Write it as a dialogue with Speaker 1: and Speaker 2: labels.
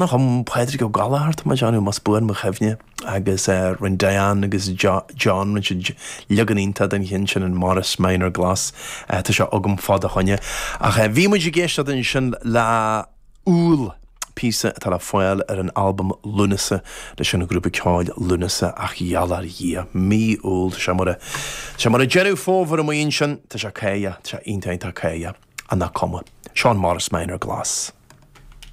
Speaker 1: A chum Pádraig Ó Gallchóir, tá mé ag déanamh, más buan mo chuimhne, agus rinne Diane agus John, rinne siad leagan iontach den cheann sin, an Morris Minor Glas. Tá sé agam fá do choinne. Ach bhí muid ag éisteacht ansin le Iúil, píosa atá le fáil ar an albam Lúnasa leis an ghrúpa ceoil Lúnasa ach gheall ar Dhia, mí Iúil, tá sé mar a, tá sé mar a Deireadh Fómhair amuigh ansin, tá sé cáidheach, tá sé iontach iontach cáidheach, ach nach cuma. Seo an Morris Minor Glas.